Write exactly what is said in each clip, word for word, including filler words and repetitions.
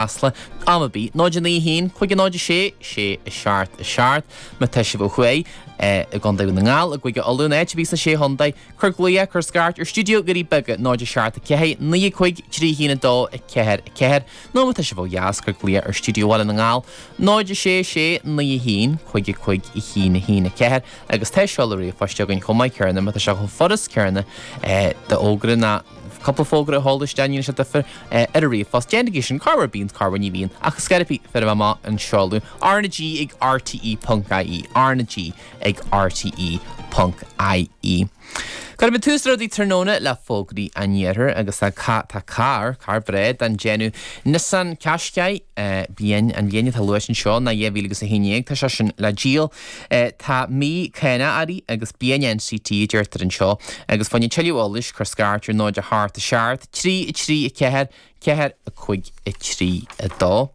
Chasla am ar bith, náid a naoi haon, cúig a náid a sé, sé a seacht a seacht. Má tá sibh ó thuaidh i gContae Dhún na nGall, i gCúige Uladh, in áit ar bith sna Sé Chontae, cuir glaoch, cuir scairt ar stiúideo Dhoirí Beaga, náid a seacht a ceathair, naoi a cúig, trí haon a dó, a ceathair a ceathair, nó má tá sibh ó dheas, cuir glaoch ar stiúideo Bhaile na nGall, náid a sé sé, naoi a haon, cúig a cúig, a haon a haon a ceathair, agus tá seoladh ríomhphoist againn chomh maith céanna, má tá sé chomh furast céanna d'fhógra ná cúpla fógra a sheoladh isteach, ní sé difear ar an ríomhphost. Déanaigí sin, corruair bíonn, corruair ní bhíonn, ach scaití féidir amach an seoladh R na G ag R T E ponc I E, R na G ag R T E ponc I E. Cuirfimid tús le rudaí tráthnóna le fógraí an iarthair agus tá tá carr, carr breá den déanamh Nissan Qashqai, bliain an bhliain atá luaite anseo ná dhá mhíle agus a haon déag, tá sé sin le díol. Tá mí cánach uirthi agus bliain N C T a deirtear anseo agus fá choinne tuilleadh eolais cuir scairt ar náid a hocht a seacht, trí a trí a ceathair, ceathair a cúig a trí a dó.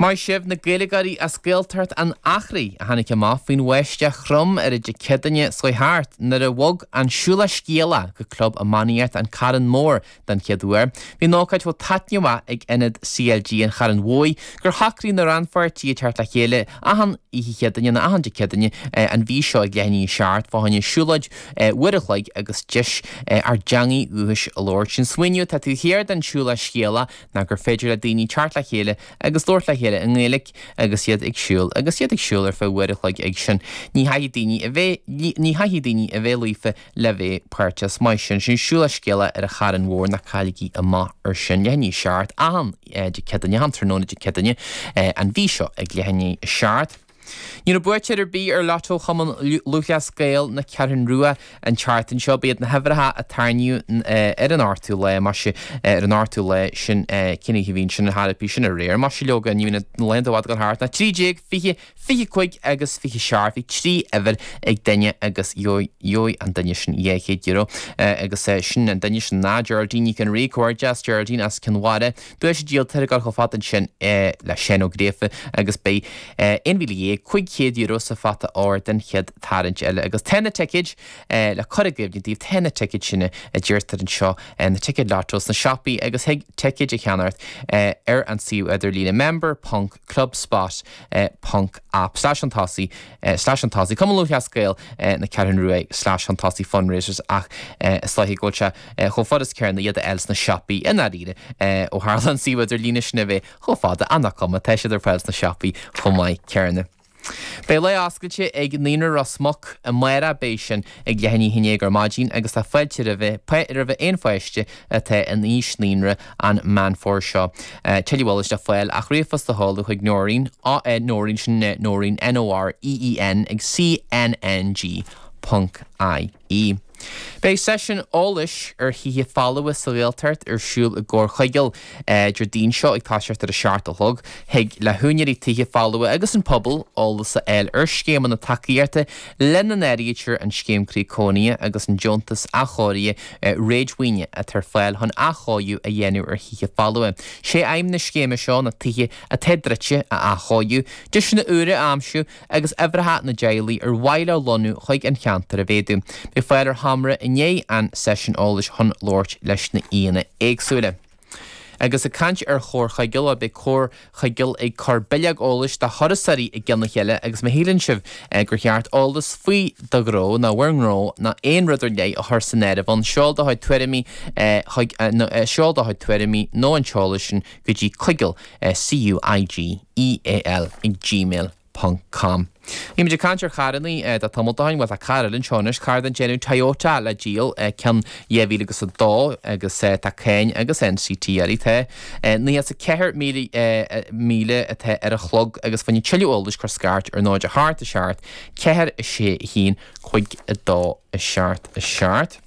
Maith sibh na Gaeilgeoirí as Gaeltacht an Eachréidh a tháinig amach faoin bháisteach throm ar an Dé Céadaoine seo thart nuair a bhog an Siúlach Scéalach go Club Iománaíocht an Charn Mór den chéad uair. Bhí an ócáid chomh taitneamhach ag Ionad C L G an Charn Mhóir gur shocraigh na rannpháirtithe teacht le chéile achan oíche Chéadaoine nó achan Dé Céadaoine an mhí seo ag leath i ndiaidh a seacht fá choinne siúlóid uair a chloig agus deis ár dteangaidh dhúchais a labhairt. An smaoineamh atá taobh thiar den Siúlach Scéalach ná gur féidir le daoine teacht le chéile agus labhairt le chéile i nGaeilge agus iad ag siúl agus iad ag siúl ar feadh uair a chloig ag sin. Ní chaithfidh daoine a bheith ní chaithfidh daoine a bheith líofa le bheith páirteach maith sin sin Siúlach Scéalach ar an Charn Mhór, ná cailligí amach ar sin leath i ndiaidh a seacht achan Dé Céadaoine, achan tráthnóna Dé Céadaoine an mhí seo ag leath i ndiaidh a seacht. Ní raibh buaiteoir ar bith ar Lotto Chumann Lúthchleas Gael na Ceathrún Rua an tseachtain seo. B'iad na huimhreacha a tarraingíodh ar an ochtú lá, maise ar an ochtú lá sin, cén oíche a bhíonn sin an thairpí sin aréir. Maise leoga ní bhíonn na laethanta i bhfad ag dul thart ná trí déag, fiche, fiche cúig agus fiche seacht. Bhí trí uimhir ag duine agus gheobhaidh an duine sin dhá chéad euro agus sin an duine sin ná Geraldine Nic an Rí, comhghairdeas Geraldine as Cionn Mhara. Duais díolta ag dul chomh fada ansin le Seán Ó Gríofa agus beidh aon mhíle dhéag cúig chéad euro sa phota óir den chéad tarraingt eile agus tá na ticéid le cur i gcuimhne daoibh, tá na ticéid sin a deirtear anseo, na ticéid lotto sna siopaí agus thig ticéid a cheannacht ar an suíomh idirlíne member ponc clubspot ponc app slash an tosaí slash an tosaí Cumann Lúthchleas Gael na Ceathrún Rua slash an tosaí fundraisers ach is dóiche go bhfuil sé chomh furast céanna iad a fháil sna siopaí i ndáiríre ó tharla an suíomh idirlíne sin a bheith chomh fada ach nach cuma, tá siad ar fáil sna siopaí chomh maith céanna. Beidh lá oscailte ag Naíonra Ros Muc amárach, beidh sin ag leath i ndiaidh a haon déag ar maidin agus tá fáilte roimhe roimhe aon pháiste atá in aois naíonra an Meán Fómhair seo. Tuilleadh eolais le fáil ach ríomhphost a sheoladh chuig Noreen, Noreen sin Noreen N O R E E N ag C N N G ponc I E. Beidh seisiún eolais ar thithe folmha sa Ghaeltacht ar siúl i gComhar Chuigéil Déardaoin seo ag toiseacht ar a seacht a chlog. Thig le húinéirí tithe folmha agus an pobal eolas a fháil ar scéimeanna tacaíochta lena n-áirítear an scéim Croí Cónaithe agus an deontas athchóirithe réadmhaoine atá ar fáil chun athchóiriú a dhéanamh ar thithe folmha. Sé aidhm na scéime seo na tithe atá druidte a athchóiriú, deiseanna úra a aimsiú agus uimhreacha na dteaghlaigh ar mhaith leo lonnú chuig an cheantar a mhéadú. Beidh fáil ar sheomra i ndiaidh an seisiún eolais chun labhairt leis na haíonna éagsúla. Agus ag caint ar Chomhar Chuigéil, beidh Comhar Chuigéil ag cur bileog eolais do thurasóirí i gcionn a chéile agus má shíleann sibh gur cheart eolas faoi do ghnó nó bhur ngnó nó aon rud ar leith a chur san áireamh ann, seol do chuid tuairimí chuig seol do chuid tuairimí nó an t-eolas sin go dtí cuigeal C U I G E A L ag gmail ponc com. Bhí muid ag caint ar charrannaí do tamall ó shin, bhuel tá carr eile anseo anois, carr den déanamh Toyota le díol, ceann dhá mhíle agus a dó agus tá cáin agus N C T uirthi. Tá nócha is a ceathair míle míle atá ar a chlog agus fá choinne tuilleadh eolais cuir scairt ar náid a hocht a seacht ceathair a sé a haon cúig a dó a seacht a seacht.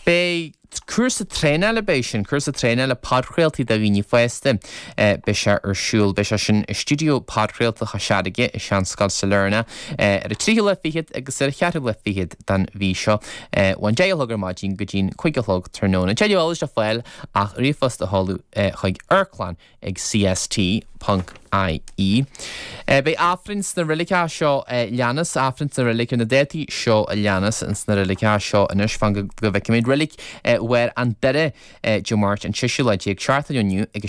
Beidh cúrsa traenála, beidh sin, cúrsa traenála podchraoltaí do dhaoine fásta, beidh sé ar siúl, beidh sé sin i stiúideo podchraolta Chois Fharraige i Seanscoil Sailearna ar an tríú lá fichead agus ar an cheathrú lá fichead den mhí seo ón deich a chlog ar maidin go dtí'n cúig a chlog tráthnóna. Tuilleadh eolais le fáil ach ríomhphost a sheoladh chuig amharclann ag C S T ponc I E. Beidh Aifreann sna reiligeacha seo leanas, Aifreann sna reilig ar na dátaí seo a leanas sna reiligeacha seo anois, fan go bhfeicfimid. Reilig bharr an Doire Dé Máirt an seisiú lá déag seachtain inniu ag